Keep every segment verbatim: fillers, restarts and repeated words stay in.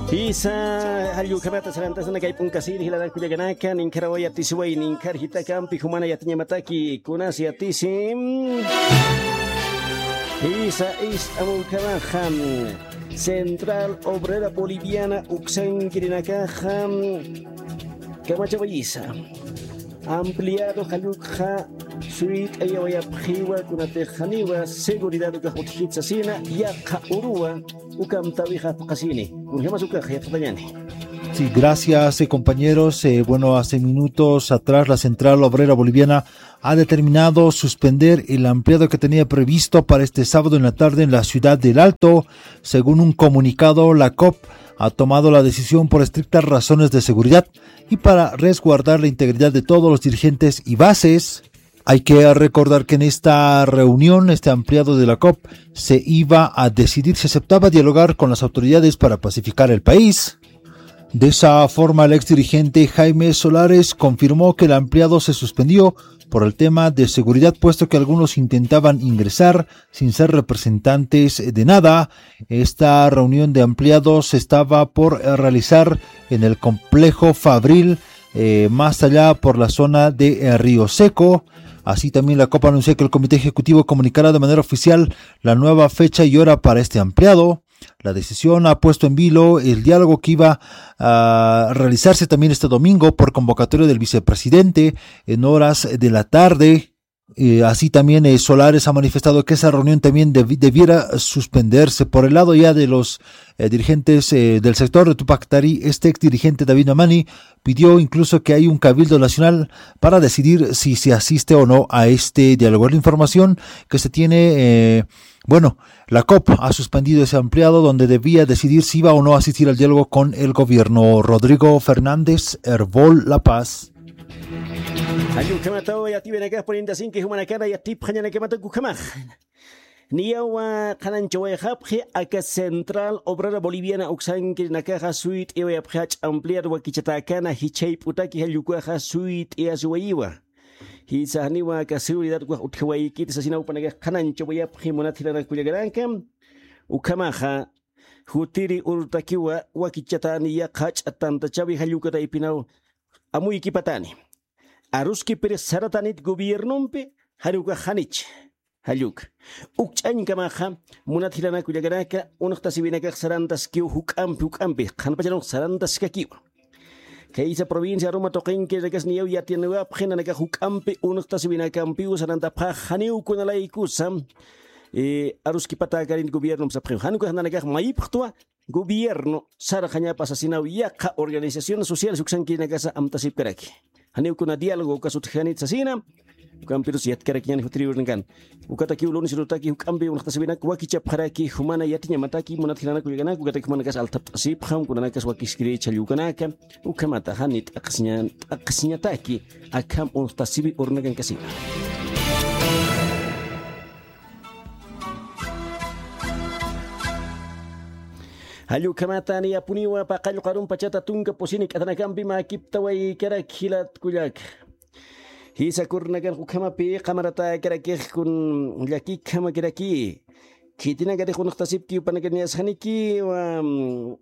Jisa, jallukhamata sarantasana kay p'unkasiri jilanak kullakanaka, ninkharawa yatisiway, ninkhar jitakampi jumana yatiñamataki, kunas yatisi. Jisa, ist'amukhamaxa, Central Obrera Boliviana uksankirinakaxa, kamachawayisa. Ampliado jallukxa suyt'ayawayapxiwa, kunatix janiwa seguridad ukax utjkit sasina, yaqha uruwa ukamtawixa phuqhasini. Kunjamas ukax yatxatañani. Sí, gracias, eh, compañeros. Eh, bueno, hace minutos atrás la Central Obrera Boliviana ha determinado suspender el ampliado que tenía previsto para este sábado en la tarde en la ciudad del Alto. Según un comunicado, la COP ha tomado la decisión por estrictas razones de seguridad y para resguardar la integridad de todos los dirigentes y bases. Hay que recordar que en esta reunión, este ampliado de la COP, se iba a decidir si aceptaba dialogar con las autoridades para pacificar el país. De esa forma, el ex dirigente Jaime Solares confirmó que el ampliado se suspendió por el tema de seguridad, puesto que algunos intentaban ingresar sin ser representantes de nada. Esta reunión de ampliados estaba por, eh, realizar en el complejo Fabril, eh, más allá por la zona de, eh, Río Seco. Así también la COP anunció que el comité ejecutivo comunicará de manera oficial la nueva fecha y hora para este ampliado. La decisión ha puesto en vilo el diálogo que iba a realizarse también este domingo por convocatoria del vicepresidente en horas de la tarde. Eh, así también, eh, Solares ha manifestado que esa reunión también debi-, debiera suspenderse. Por el lado ya de los, eh, dirigentes, eh, del sector de Tupac Katari, este ex dirigente David Mamani pidió incluso que haya un cabildo nacional para decidir si se asiste o no a este diálogo. La información que se tiene, eh, bueno, la COP ha suspendido ese ampliado donde debía decidir si iba o no a asistir al diálogo con el gobierno. Rodrigo Fernández, Erbol, La Paz. Jallukhamataw yatiyawinakax purinitanki, jumanakana yatipxañanakamataki ukhamax. Niyawa qhanañchawayxapxi aka Central Obrera Boliviana uksankirinakaxa suyt'ayawayapxi jach'a ampliado wakichatäkana jichhayp'utaki jallukaxa suyt'ayasiwayiwa. Jisa, janiwa aka seguridad ukax utjawaykiti sasina jupanakax qhanañchawayapxi munat jilanak kullakanaka. Ukhamaxa jutiri urtakiwa wakichatäni yaqha jach'a tantachawi jalluka taypinaw amuykipatani. Aruskipirix saratanit gobiernompi, janiw ukax janich. Jalluka. Ukch'añkamaxa, munat jilanak kullakanaka, unxtasiwinakax sarantaskiw juk'ampi, juk'ampi, qhanpachanux sarantaskakiwa. Khaysa provincia Aroma tuqinkirinakas niyaw yatiyaniwapxi, nanakax juk'ampi unxtasiwinakampiw sarantapxax, janiw kunalaykusa, eh, aruskipatäkanit gobiernompi sapxiw. Jan ukax nanakax mayipxtwa, gobierno sarxañapa sasinaw yaqha organizaciones sociales uksankirinakasa amtasipkaraki. Janiw kuna diálogo ukas utjxanit sasina, ukampirus yatkarakiñäni jutiri urnakan. Ukatakiw lunes urutaki juk'ampi unxtasiwinak wakichapxaraki, jumana yatiñamataki, munat jilanak kullakanaka, ukataki jumanakas altapt'asipxam, kunanakas wakiskirïchi jallukanaka, ukhamata jani t'aqhisiña-, t'aqhisiñataki, akham unxtasiwi urnakan kasiwa. Jallukhamata niyapuniwa paqallqarum pachata tunka pusini k'athanakampi mäkiptawaykarak jilat kullaka. Jisa kurnakan ukhamapi qamaratäkarakix kun llakikhamakiraki. Khitinakatix unxtasipki jupanakaniñas janikiwa, mm,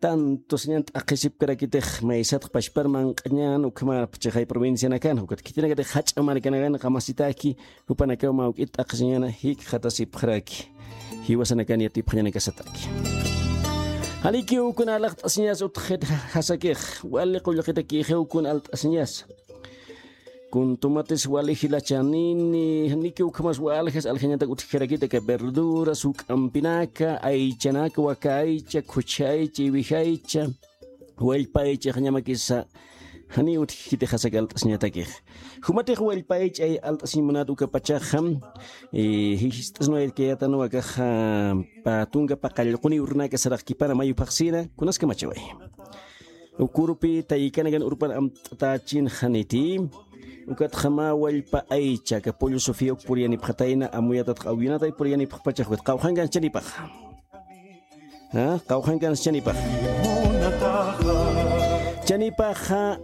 tanto siñan t'aqhisipkarakitix maysatx pachpar manq'añän ukhamapchixay provincianakan, ukat khitinakatix jach'a markanakan qamasitaki, jupanakaw mä juk'it t'aqhisiñäna jikxatasipxaraki. Jiwasanakan yatipxañanakasataki. Janikiw kuna alt'asiñas utjxit jasakix, wali qullqitakïxiw kuna alt'asiñas. Kun tumatis wali jilachanini, janikiw ukhamas waljas aljañatak utjkarakita aka verduras, juk'ampinaka, aychanaka, waka aycha, khuchha aycha, iwij aycha, wallpa aycha, jañamakisa, janiw utjkiti jasak alt'asiñatakix. Jumatix wallpa aycha ay alt'asiñ munat ukapachaxa, eh, jist'asnawaytkayätanwa akaxa, pä tunka paqallquni urunaka saraxkipana mayu phaxsina, kunaskamachaway. Ukurupi taykanakan urpan amt'atächinxaniti. Ukatxa mä wallpa aycha, aka pollo Sofía uk puriyanipxatayna, amuyatatx awinatay puriyanipxpachax, ukat qawqhankan chanipaxa. ¿Ah? Qawqhankan chanipaxa. Chanipaxa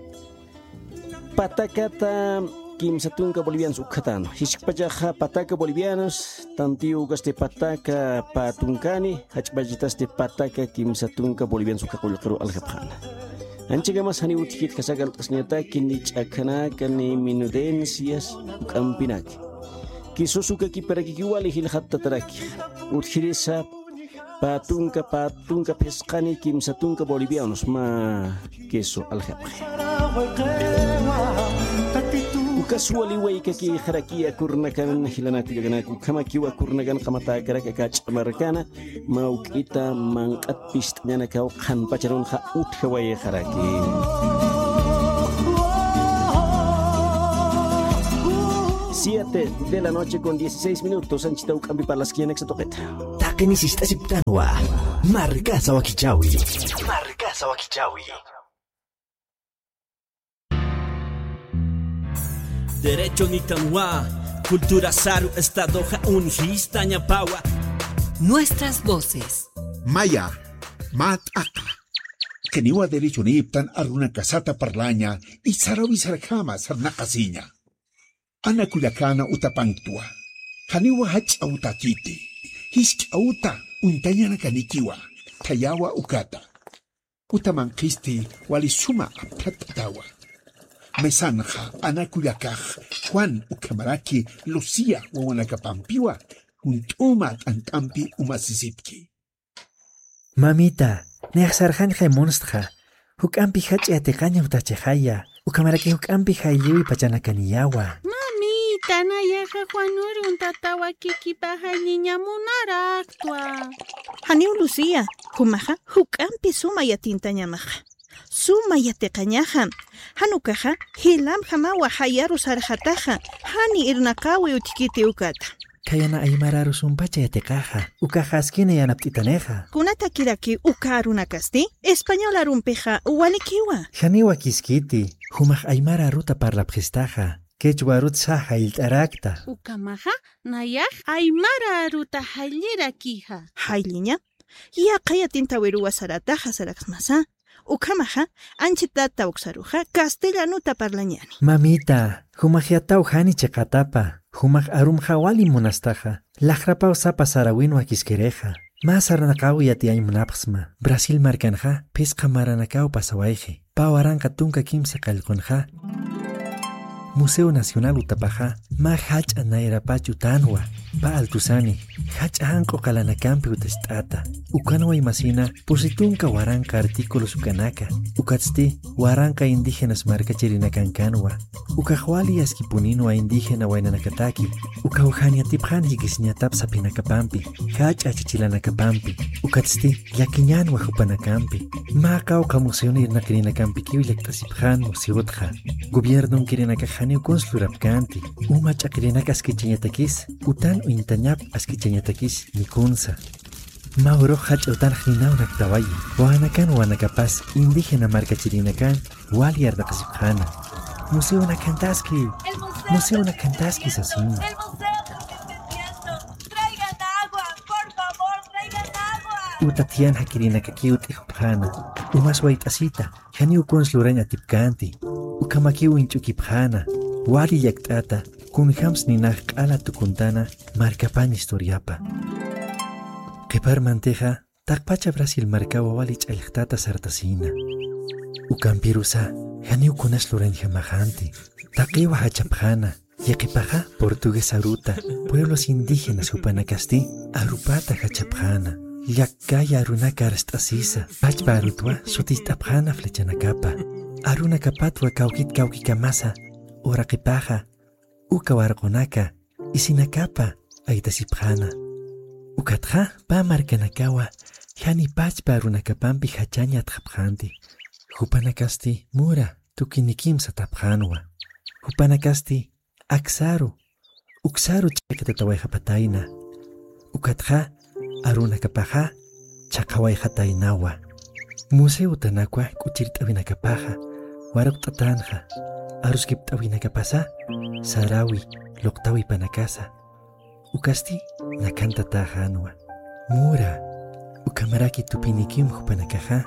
patakata kimsa tunka bolivianos ukhatäna. Jiskpachaxa pataka bolivianos, tantiyu ukasti pataka pä tunkani, jach'pachatasti pataka kimsa tunka bolivianos ukha qullqiru aljapxäna. Anchhikamas janiw utjkit, jasa kallq'asiñataki ni ch'akhanaka ni menudencias juk'ampinaki. Kisus uka kiparakikiw wali jilxattataraki. Utjirisa pä tunka, pä tunka phisqani kimsa tunka bolivianos mä queso aljapxi. Ukas wali waykakixaraki akürunakan jilanaka kullakanak, ukhamakiw akürunakan qamatäkarak aka ch'amarkana, mä juk'ita manq'at pist'añanakaw qhanpacharunxa utjawayxaraki. Siete de la noche con dieciséis minutos, anchhita juk'ampi parlaskiñanaksa tuqita. Taqini sist'asiptanwa. Markasa wakichawi. Markasa wakichawi. Derecho nitanwa, cultura saru estadoxa unjistañapawa. Nuestras voces. Maya, mä t'aqa. Janiwa derechonïptan arunakasata parlaña, isaru isarjama sarnaqasiña. Ana kullakäna utapanktwa. Janiwa jach'a utakiti. Jisk'a uta uñtañanakanikiwa. Thayawa ukata. Uta manqhisti wali suma apthat'atawa. Mesanxa ana kullakax Juan ukhamaraki Lucía wawanakapampiwa junt'uma t'ant'ampi umasisipki. Mamita, nayax sarxañxay munstxa. Juk'ampi jach'a yatiqaña utjachaxaya. Ukhamaraki juk'ampi jaylliwi pachanakaniyawa. Mamita, nayaxa Juan urun tata wakikipa jaylliña munaraktwa. Janiw Lucía, jumaxa juk'ampi suma yatintañamaxa. Suma yatiqañaxa. Jan ukaxa jilamjamawa jayaru sarxataxa. Jani irnaqawi utjkiti ukata. Khayana aymar aru sumpacha yatiqaxa, ukaxa askina yanapt'itanixa. Kunatakiraki uka arunakasti? Español arumpixa walikiwa. Janiw wakiskiti, jumax aymar aruta parlapxistaxa, quechua arut sa jayllt'arakta. Ukhamaxa, nayax aymar aruta jayllirakixa. Jaylliña, yaqha yatintawiruwa sarataxa saraksmasa. Ukhamaxa, anchhita tawksaruxa castellanota parlañäni. Mamita, jumax yataw jani chiqatapa, jumax arumxa wali munastaxa, laxrapaw sapa saräwin wakiskirixa. Mä sarnaqaw yatiyañ munapxsma, Brasil markanxa phisqa maranakaw pasawayxi, pä waranqa tunka kimsa qallqunxa. Museo Nacional utapaxa, mä jach'a nayrapach utanwa, pä altusani, jach'a janq'u qalanakampi utast'ata. Ukanwa imasina, pusi tunka waranqa artículos ukanaka. Ukatsti, waranqa indígenas markachirinakankänwa. Ukax wali askipuninwa indígena waynanakataki. Ukaw jan yatipxän jikisiñatap saphinakapampi, jach'a achachilanakapampi. Ukatsti, llakiñänwa jupanakampi. Mä qawqha museon irnaqirinakampikiw llakt'asipxän museotxa. Gobiernonkirinakax janiw kuns lurapkänti. Uma ch'aqirinaka askichañatakis, utan uñtañap askichañatakis ni kunsa. Mä urux jach'a utanx ninaw naktaway, wawanakan wawanakapas indígena markachirinakan wali arnaqasipxäna. Museonakantaski, museonakantaski sasin. Uta thiyan jakirinakakiw t'ijupxäna, umas wayt'asita, janiw kuns lurañ atipkänti, ukhamakiw uñch'ukipxäna, wali llakt'ata, kunjams ninax q'ala tukuntana markapañ historiapa. Qhiparmantixa, taqpacha Brasil markawa wali ch'allxtata sartasïna. Ukampirusa, janiw kunas lurañjamaxänti, taqiwa jachapxäna, yaqhipaxa portugués aruta, pueblos indígenas jupanakasti, arupata jachapxäna, llakkaya arunaka arst'asisa, pachpa arutwa suticht'apxäna flechanakapa, arunakapatwa kawkit kawkikamasa, uraqipaxa, uka warqunaka, isinakapa, aytasipxäna. Ukatxa, pä markanakawa, jani pachpa arunakapampi jachañ yatxapxänti. Jupanakasti, mura, tukinikim satapxänwa. Jupanakasti, aksaru, uksaru ch'iqitatawayxapatayna. Ukatxa, arunakapaxa, chhaqhawayxataynawa. Museo utanakwa k'uchirt'awinakapaxa, waruqt'atänxa, aruskipt'awinakapasa, saräwi, luqtawipanakasa. Ukasti, nakantatäxänwa. Mura, ukhamaraki tupinikim jupanakaxa,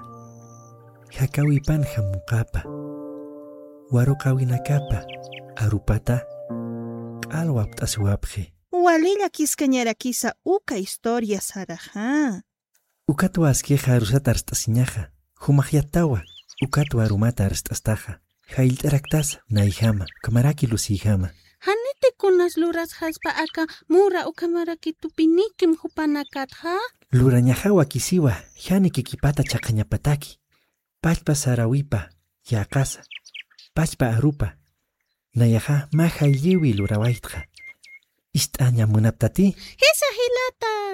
jakäwipan jamuqapa. Waruqawinakapa arupata q'al wapt'asiwapxi. Wali llakiskañarakisa uka historia saraxa. Ukatwa askixa arusata arst'asiñaxa, jumax yattawa ukatwa arumata arst'astaxa, jayllt'araktasa nayjama, ukhamaraki lusiyjama. Janiti kunas lurasxaspa aka mura ukhamaraki tupinikim jupanakatxa? Lurañaxa wakisiwa, janikikipata chhaqañapataki. Pachpa sarawipa yäqasa, pachpa arupa, nayaxa mä jaylliwi lurawaytxa. Ist'aña munaptati. Jisa jilata.